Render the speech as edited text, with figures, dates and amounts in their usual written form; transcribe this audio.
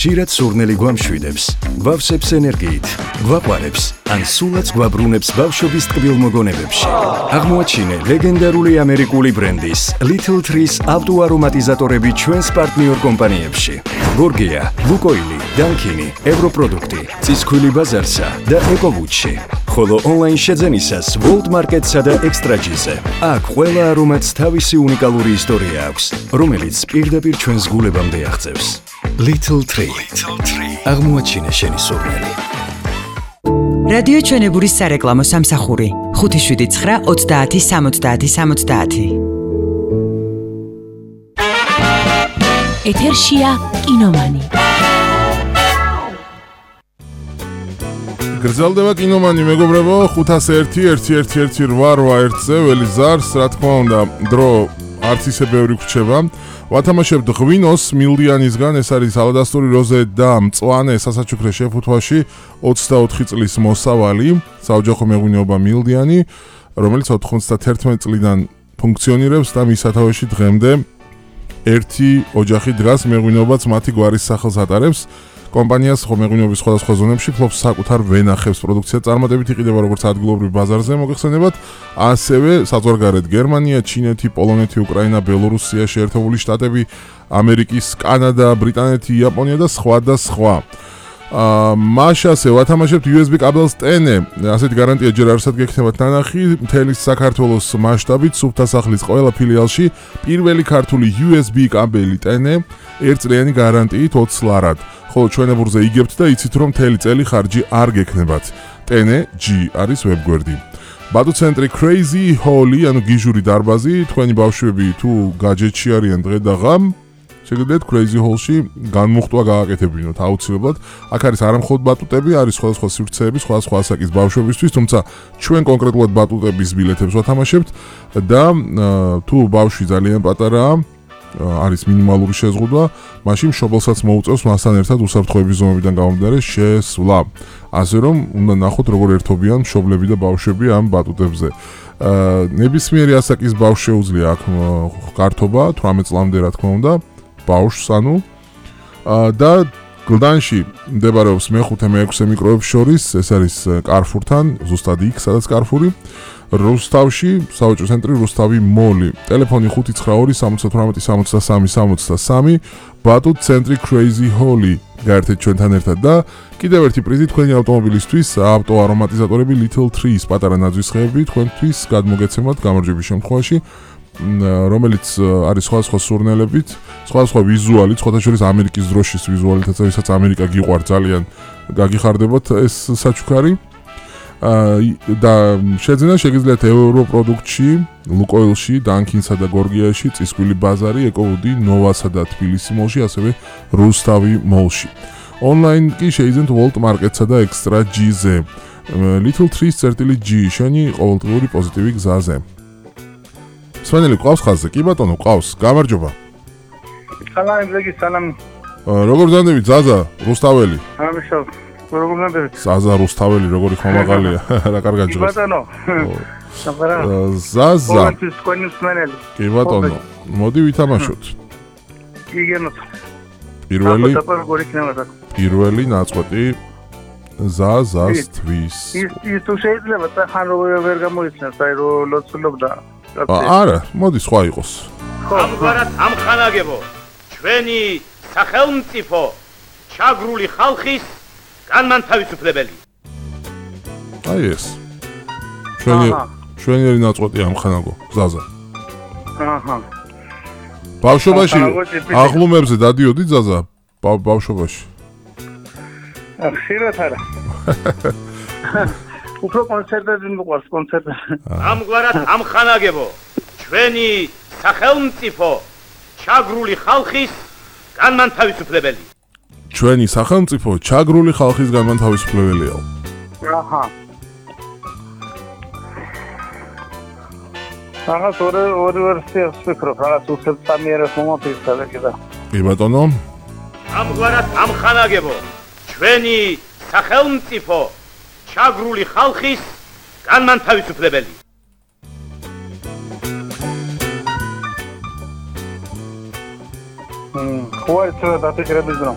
ჭირად სურნელი გვამშვიდებს, გვავსებს ენერგიით, გვაყვარებს, ან სულაც გვაბრუნებს ბავშვობის ტკბილ მოგონებებში. აღმოაჩინე ლეგენდარული ამერიკული ბრენდის Little Trees ავტოარომატიზატორები ჩვენს პარტნიორ კომპანიებში. გორგია, ლუკოილი, დანკინი, ევროპროდუქტი, წისქვილი ბაზარსა და ეკოვუჩი. ხოლო ონლაინ შეძენისას World Market-სა და Extra-G-ზე. აქ ყველა არომატს თავისი უნიკალური ისტორია აქვს, რომელიც პირდაპირ ჩვენს გულებამდე აღწევს. Little Tree. აღმოაჩინე შენი სურნელი. რადიო ჩვენებურის სარეკლამო სამსახური 579 30 70 70. ეთერშია კინომანი. გრძელდება კინომანი, მეგობრებო, 501-111-8-1-ზე ველი ზარს, რა თქმა უნდა, დრო არც ისე ბევრი გვრჩება. ვათამაშებთ ღვინოს მილდიანისგან, ეს არის ალადასტური როზე და მწვანე სასაჩუქრე შეფუთვაში 24 წლის მოსავალი, საოჯახო მეღვინეობა მილდიანი, რომელიც 91 წლიდან ფუნქციონირებს და მის სათავეში დღემდე ერთი ოჯახი დგას, მეღვინეობაც მათი გვარის სახელს ატარებს. კომპანიას მეღვინეობის სხვადასხვა ზონებში ფლობს საკუთარ ვენახებს, პროდუქცია წარმატებით იყიდება როგორც ადგილობრივ ბაზარზე მოგეხსენებათ, ასევე საზღვარგარეთ გერმანია, ჩინეთი, პოლონეთი, უკრაინა, ბელორუსია, შეერთებული შტატები, ამერიკის, კანადა, ბრიტანეთი, იაპონია და სხვა. მაშასე ვათამაშებთ USB კაბელს ტენე, ასეთი გარანტია ჯერ არსად გექნებათ ნანახი, მთელი საქართველოს მასშტაბით სუფთასახლის ყველა ფილიალში პირველი ქართული USB კაბელი ტენე, 1 წლიანი გარანტიით 20 ლარად. ხოლო ჩვენებურზე იგებთ და იცით რომ მთელი წელი ხარჯი არ გექნებათ. ტენე G არის ვებგვერდი. ბატუ ცენტრი Crazy Holly, ანუ გიჟური დარბაზი, თქვენი ბავშვები თუ გაჯეტში არიან დღე და ღამ, შეგიძლიათ Crazy Hall-ში განმუხტვა გააკეთებინოთ აუცილებლად. აქ არის არამხოლოდ ბატუტები, არის სხვადასხვა სივრცეები, სხვადასხვა ასაკის ბავშვებისთვის, თუმცა ჩვენ კონკრეტულად ბატუტების ბილეთებს ვათამაშებთ და თუ ბავშვი ძალიან პატარაა, არის მინიმალური შეზღუდვა, მაშინ მშობელსაც მოუწევს მასთან ერთად უსაფრთხოების ზომებიდან გამომდინარე შესვლა. ასე რომ უნდა ნახოთ როგორ ერთობიან მშობლები და ბავშვები ამ ბატუტებზე. ნებისმიერი ასაკის ბავშვს შეუძლია აქ გართობა 18 წლამდე რა თქმა უნდა, ბავშვს ანუ და გლდანში მდებარეობს მე-5 მე-6 მიკროებს შორის, ეს არის კარფურთან, ზუსტად იქ, სადაც კარფური. რუსთავში, საოჯო ცენტრი რუსთავი მოლი. ტელეფონი 598-78-63-63. ბატუტ ცენტრი Crazy Holly. გაერთეთ ჩვენთან ერთად და კიდევ ერთი პრიზი თქვენი ავტომობილისთვის, ავტოარომატიზატორები Little Trees, პატარა ნაძვისხეები თქვენთვის გადმოგეცემათ გამარჯვების შემთხვევაში, რომელიც არის სხვადასხვა სურნელებით, სხვადასხვა ვიზუალით, სხვადასხვა ამერიკის დროშის ვიზუალითაც, ვისაც ამერიკა გიყვარს ძალიან, გაგიხარდებათ ეს საჩუქარი. და შეძენა შეგიძლიათ ევროპროდუქტში, ლუკოილში, დანკინსა და გორგიაში, წისქვილი ბაზარი, ეკოვუდი, ნოვასა და თბილისი მოლში, ასევე რუსთავი მოლში. ონლაინ კი შეიძენთ World Market-სა და Extra-G-ზე. Little Trees G, შენი ყოველდღიური პოზიტივი გზაზე. სვენელი ყავს ხაზზე? კი ბატონო, ყავს. გამარჯობა. სალამი, ბლეგი, სალამი. როგორ ზანდებით, ზაზა, რუსთაველი? ამიშავ. როგორ ზანდებით? ზაზა რუსთაველი, როგორი ხომაღალია. რა კარგად ჯღებს. კი ბატონო. ზაზა. სვენელი. კი ბატონო, მოდი ვითამაშოთ. იგენოთ. პირველი ნაწყვეტი ზაზასთვის. ის თუ შეიძლება ხან ვერ გამოიცნეს, აი რომ ლოცულობდა. არა, მოდი სხვა იყოს. ამგვარად ამხანაგებო ჩვენი სახელმწიფო ჩაგრული ხალხის განმანთავისუფლებელი. აი ეს. ჩვენი ნაწყვეტი ამხანაგო, ზაზა. აჰა. ბავშვობაში აღლუმებზე დადიოდი ზაზა? ბავშვობაში. ხშირად არა. უფრო კონცერტები მოყვარს, კონცერტები. ამგვარად ამხანაგებო ჩვენი სახელმწიფო ჩაგრული ხალხის განმანთავისუფლებელი. ჩვენი სახელმწიფო ჩაგრული ხალხის განმანთავისუფლებელია. აჰა. რაღაც ორი ვერსიას ვფიქრობ, რაღაც უსწამიერეს მომაფიქრა და კიდე. კი ბატონო. ამგვარად ამხანაგებო ჩვენი სახელმწიფო ჩაგრული ხალხის განმანთავისუფლებელი. ხო, ეს დაფიქრების დრო.